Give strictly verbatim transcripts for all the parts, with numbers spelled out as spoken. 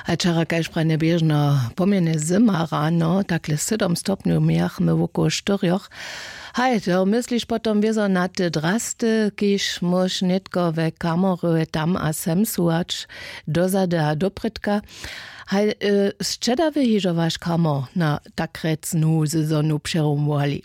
A wčera kaž pranje běžno pomjene zyma rano takle sydom stopnjow mějachmy wokoło štyrjoch. Haj to mysliš potom wězo na te drasty kiž móž nětko we kamorje tam a sem suwać dozady a doprědka. Haj, sćedawy hižo waš kamor na takrec nowu sezonu přerumowali?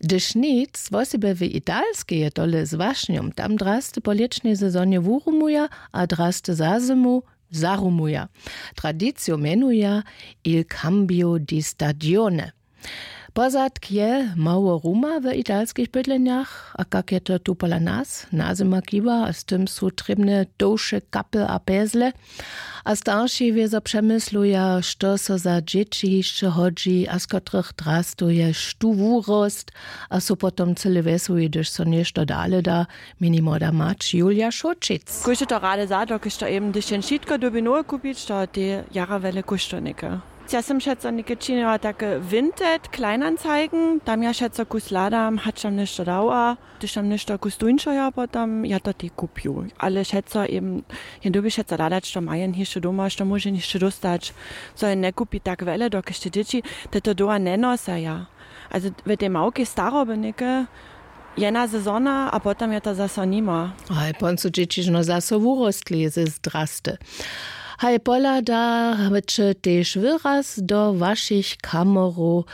Hdyž nic wosebje w italskej je tole z wašnjom tam drasty po lěćnej sezonje wurumuja a drasty za zymu zarumuja. Tradiciju mjenuja il cambio di stagione. Pozadk je mało ruma w italskich bydlenjach a kak je to tu pola nas? Nazyma kiwa a z tym su trěbne tołše kapy a pezle. A starši wězo přemysluja što so za dźěći hišće hodźi a z kotrych drastuje štó wurost. A su potom cyle wjesołi hdyž so něšto dale da. Mjenimo da mać julija šołčic. Kóždy to rady za dokelž to eben hdyž jen wšitko dyrbi nowe kupić to tej jara wjele kóštow něke. Ja sym wšetco něke činjała take vinted kleinanzeigen tam ja wšetco kus hladam hač tam něšto dała hdyž tam něšto kus tuńšeho potom ja to tej kupju ale wšetco eben jen dyrbi wšetco hladać što ma jen hišće doma što móže hišće dóstać. Co jen njekupi tak wjele dokelž te dźěći te to doła njenosaja. Ale w tej małkej staroby něke jedna sezona a potom je to zaso nima. Haj pon su dźěći žno zaso wurostli ze zdrasty. Haj pohlada će tež wyraz do wašich kamorow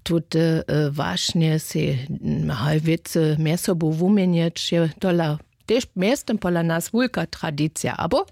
tute wašnje sej haj wěcy mjez sobu wuměnjeć je tola tež mjeztym pola nas wulka tradicija abo?